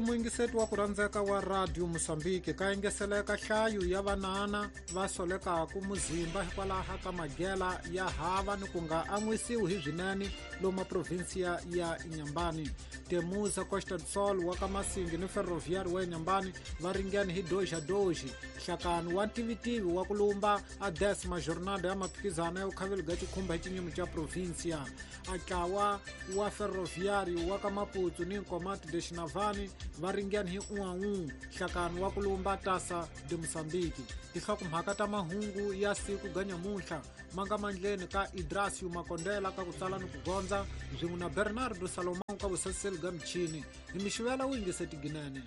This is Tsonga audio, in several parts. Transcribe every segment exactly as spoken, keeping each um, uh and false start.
Muyingiseti wa ku rhandzeka wa Radio Mozambique ka engeseleka nhlayo ya vanana va solekaku muzimba hikwalaho ka magela ya hava ni ku nga an'wisiwi hi swinene lomu provinsia ya Inhambane. Temuza Costa do Sol wa ka Masingi ni Ferroviário wa Inhambane va ringene hi doja doji. Nhlakano wa ntivitivi wa ku lumba a décima jornada ya maphikizano ya vukhaveli bya xikhumba hi xinyimi xa provinsia. Atlawa wa Ferroviário wa ka Maputo ni Nkomati de Xinavane va ringene hi um a um. Nhlakano wa ku lumba Taça de Moçambique. Tinhlokomhaka ta mahungu ya siku ga nyamuntlha ma nga mandleni ka Idrasio Makondela ka ku tsala ni ku gondza swin'we na Bernardo Salomão ka vusaseli bya michini. Hi mixivela wu yingiseti ginene.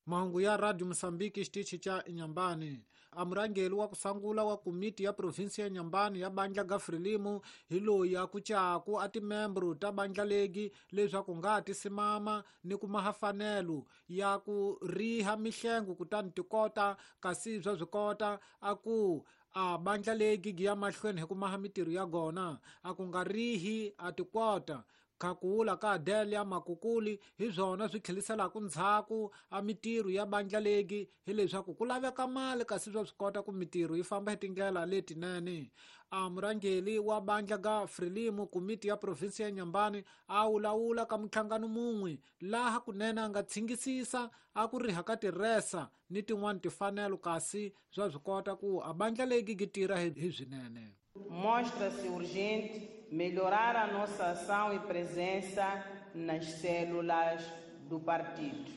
Mahungu ya Radio Mozambique xitichi xa Inhambane. A murhangeri wa ku sungula wa komiti ya provinsi ya Inhambane ya bandla ga Frelimo hi loyi a kucaku a timembro ta bandla legi leswaku nga ti simama ni ku maha fanelo ya ku riha mihlengo kutani ti kota kasi bya swi kota a ku a bandla legi gi ya mahlweni hi ku maha mitirho ya gona a ku nga rihi a ti kota Khakula ka Adelia Makukuli hi swona swi tlheliselaka ndzhaku a mitirho ya bandla legi hileswaku ku laveka mali kasi swa swi kota ku mitirho yi famba hi tindlela letinene. A murhangeri wa bandla ga Frelimo komiti ya provinsi ya Inhambane a wulawula ka minhlangano mun'we laha kunene a nga tshingisisa a ku riha ka tiresa ni tin'wani timfanelo kasi swa swi kota ku a bandla legi gi tirha hi swinene. Mostra-se urgente melhorar a nossa ação e presença nas células do partido.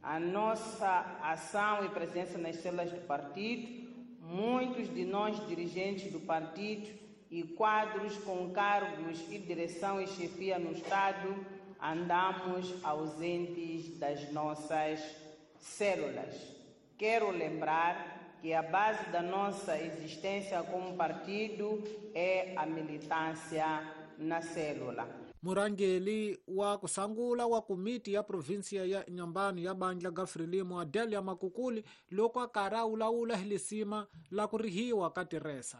A nossa ação e presença nas células do partido, muitos de nós dirigentes do partido e quadros com cargos e direção e chefia no Estado, andamos ausentes das nossas células. Quero lembrar que a base da nossa existência como partido é a militância na célula. Murhangeri wa ku sungula wa komiti ya provinsia ya Inhambane ya bandla ga Frelimo Adelia Makukuli loko a karhi a wulawula hi lisima la ku rihiwa ka tiresa.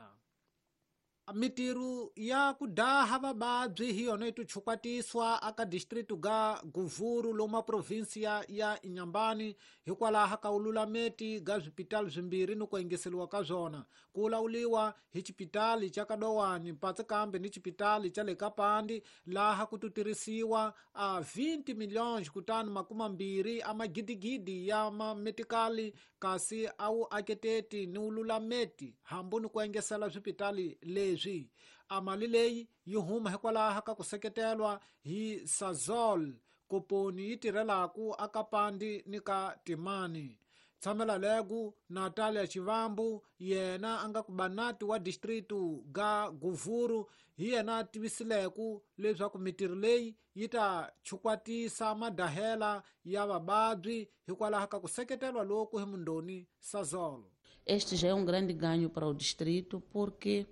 Mitirho ya ku daha vavabyi hi yona yi tichukwatiswa aka district ga Guvuru lomu provinsia ya Inhambane hikwalaho ka wululameti ga swipitali swimbirhi ni ku engeseriwa ka swona. Ku wulawuliwa hi xipitali xa Kadowani mpatsi kambe ni xipitali xa le Kapandi laha ku tutirisiwa a vinte milhões kutani makumi mbirhi a magidigidi ya mametikali kasi a wu aketeti ni wululameti hambi ni ku engesela swipitali leswi. A mali leyi yi huma hikwalaho ka ku seketelwa hi Sasol koponi yi tirhelaku akapandi ni ka Timani. Tshamela legu Natalia Chivambu yena a nga ku banati wa distritu ga Guvuru hi yena a tivisileku leswaku mitirho leyi yi ta chukwatisa madahela ya vavabyi hikwalaho ka ku seketelwa loku hi mundoni Sasol. Este já é um grande ganho para o distrito porque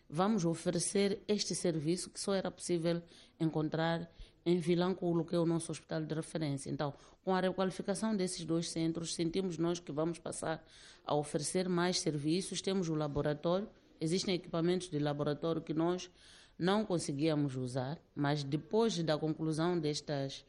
vamos oferecer este serviço que só era possível encontrar em Vilanculo, que é o nosso hospital de referência. Então, com a requalificação desses dois centros, sentimos nós que vamos passar a oferecer mais serviços. Temos o laboratório, existem equipamentos de laboratório que nós não conseguíamos usar, mas depois da conclusão destas,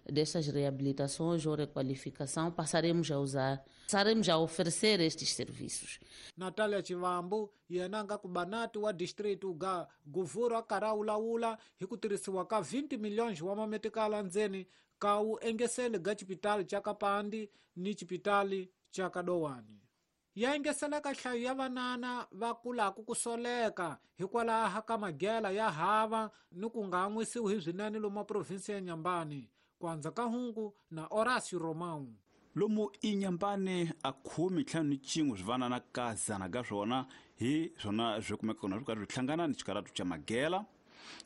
destas reabilitações ou requalificação, passaremos a usar, passaremos a oferecer estes serviços. Natalia Chivambu yena nga ku banati wa distritu ga Guvuru a karhi a wulawula hi ku tirhisiwa ka vinte milhões wa mametikala ndzeni ka wu engeseli ga xipitali xa Kapandi ni xipitali xa Kadowani. Ya engeseleka nhlayo ya vanana va kulaku ku soleka hikwalaho ka magela ya hava ni ku nga an'wisiwi hi swinene lomu provinsi ya Inhambane. Kwanza ka hungu na Horácio Romão. Lomu Inhambane a khume ntlhanu ni cin'we swi vanana ka zana ka swona hi swona swi kumeka kona swi karhi swi hlangana ni xikaratu xa magela.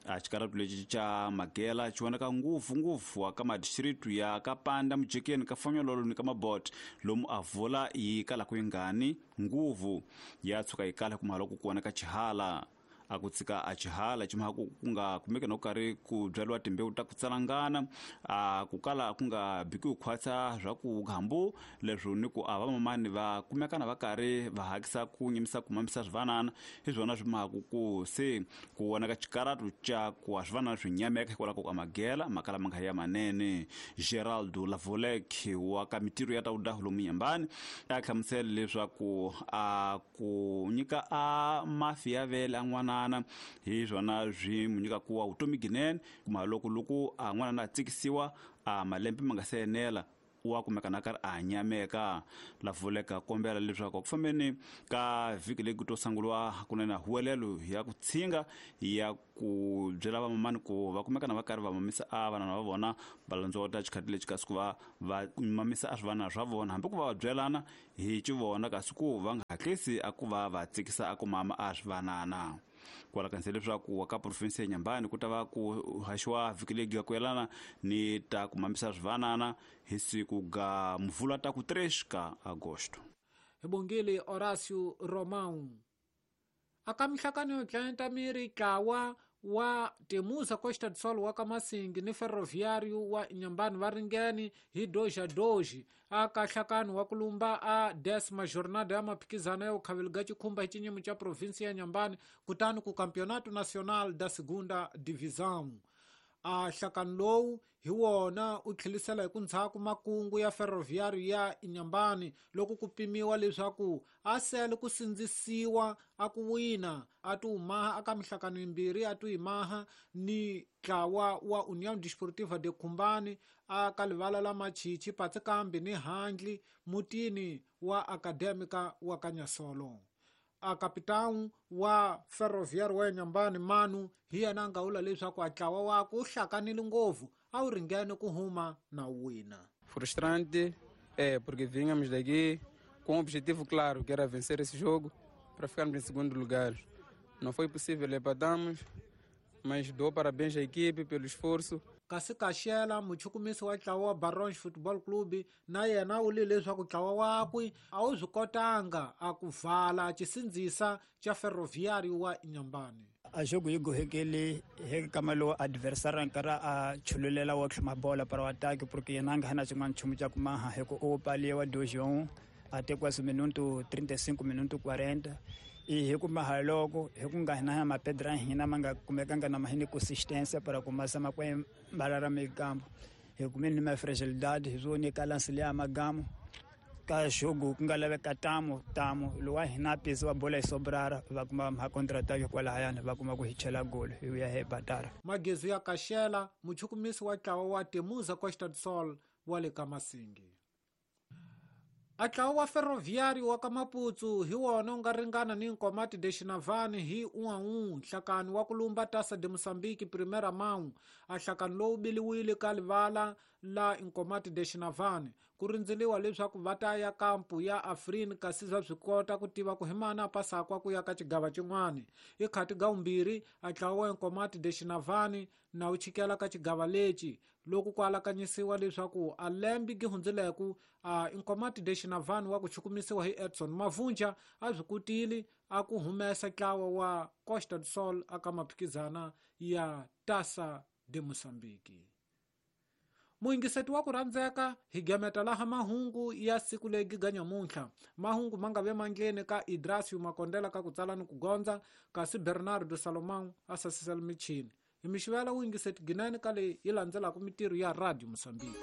A xikaratu lexi xa magela xi vonaka ngopfungopfu ka madistritu ya Kapanda, Mujekeni, ka Fonyololo ni ka Mabote lomu a vula yi kalaka yi ngani nguvu ya tshuka yi kala kuma loko ku vonaka xihala. a ku tshika a xihala ximaha ku ku nga kumeke no karhi ku byariwa timbewu ta ku tsalangana a ku kala ku nga bikiwi khwatsa swa ku gambu leswo ni ku a vamamani va kumekana va karhi va hakisa ku nyimisa ku mamisa swivanana hi swona swi mahaku ku se ku vonaka xikaratu xa ku a swivanana swi nyameka hikwalaho ka magela makala ma nga ya manene. Geraldo Lavolek wa ka mitirho ya ta udahu lomu Inhambane a hlamusela leswaku a ku nyika a mafi ya vele a n'wanana hi swona swi mu nyika ku wa vutomi ginene kuma loko loko a n'wanana a tsikisiwa a malembe ma nga se enela wa kumeka na karhi a nyameka. Lavoleka kombela leswaku ku fambeni ka vhiki leyi ku to sunguriwa kunene huwelelo ya ku tshinga ya ku byela vamamani ku va kumeka na va karhi va mamisa a vanana va vona va landzota xikhati lexi kasi ku va va mamisa a swivanana swa vona hambi ku va va byelana hi xivona kasi ku va nga hatlisi a ku va va tsikisa a ku mama a swivanana. Kwala kanisa leswaku ka province ya Inhambane ku ta va ku haxiwa vhiki leyi ga ku yelana ni ta ku mamisa swivanana hi siku ga mvula ta ku três ka agosto. Hi bongile Horácio Romão. Aka mihlakano yo dlayenta miri tlawa wa Temusa Costa do Sol wa ka Masingi ni Ferroviário wa Inhambane va ringene hi dois a dois aka nhlakano wa kulumba a décima jornada ya maphikizano ya ukhaveli ga chikhumba hi xinyimo xa provinsi ya Inhambane kutani ku Campeonato Nacional da Segunda Divisão. A nhlakano lowu hi wona u tlhelisela hi ku ndzhaku makungu ya Ferroviário ya Inhambane loko ku pimiwa leswaku a sele ku sindzisiwa a ku wina a ti humaha aka mihlakano yimbirhi a ti yimaha ni ntlawa wa União Desportiva de Khumbane aka livala la Machichi Patsikambi ni handli mutini wa Acadêmica wa Kanyasolo. A kapitão wa Ferroviário wa Inhambane Manu hi yena a nga vula leswaku a ntlawa wakwe wu hlakanile ngopfu a wu ringene ku huma na wina. Frustrante é porque vínhamos daqui com um objetivo claro, que era vencer esse jogo para ficarmos em segundo lugar. Não foi possível, empatamos, mas dou parabéns à equipe pelo esforço. Kasi Kaxela muchukumisi wa ntlawa wa Barões Football Club na yena u vule leswaku ntlawa wakwe a wu swi kotanga a ku vala xisindzisa xa Ferroviário wa Inhambane. A jogo yi gohekele hi kama lowu adversário nkarhi a chululela wa tlhuma bola para o ataque porque yena a nga na xin'wana nchumu xa ku maha hi ku u paliwa dois a um até quase minuto trinta e cinco minuto quarenta e hi ku maha loko hi ku nga hina mapedra hina ma nga kumekanga na mahini consistência para começar ma kwe mbalara meio-campo hi kumeni ma fragilidade hi zone ka lance le amagamo ka jogo ku nga laveka tamo tamo lowa hina pesi wa bola yi sobrara va kuma ma contra-ataque kwalahayana va kuma ku hi chela golo hi ya hi batara. Magezu ya Kaxela muchukumisi wa ntlawa wa Temusa Costa do Sol wa le ka Masingi. A ntlawa wa Ferroviário wa ka Maputsu hi wona wu nga ringana ni Nkomati de Xinavane hi um a um nhlakano wa ku lumba Taça de Moçambique Primeira Mão. A nhlakano lowu biliwile ka livala la Nkomati de Xinavane ku rindzeliwa leswaku va ta ya kampu ya Afrin kasi swa swi kota ku tiva ku hi mani a pasakwa ku ya ka xigava xin'wana. I khati ga vumbirhi a ntlawa wa Nkomati de Xinavane na wu chikela ka xigava lexi loko ku alakanyisiwa leswaku a lembe gi hundzileku a Nkomati de Xinavane wa ku chukumisiwa hi Edson Mavunja a swi kotile a ku humesa ntlawa wa Costa do Sol aka maphikizana ya Taça de Moçambique. Muyingiseti wa ku rhandzeka hi gemeta laha mahungu ya siku legi ga nyamuntlha. Mahungu ma nga ve mandleni ka Idrasio Makondela ka ku tsala ni ku gondza kasi Bernardo Salomão a sasisela michini. Hi mixivela wuyingiseti ginene ka leyi yi landzelaka mitirho ya Radio Moçambique.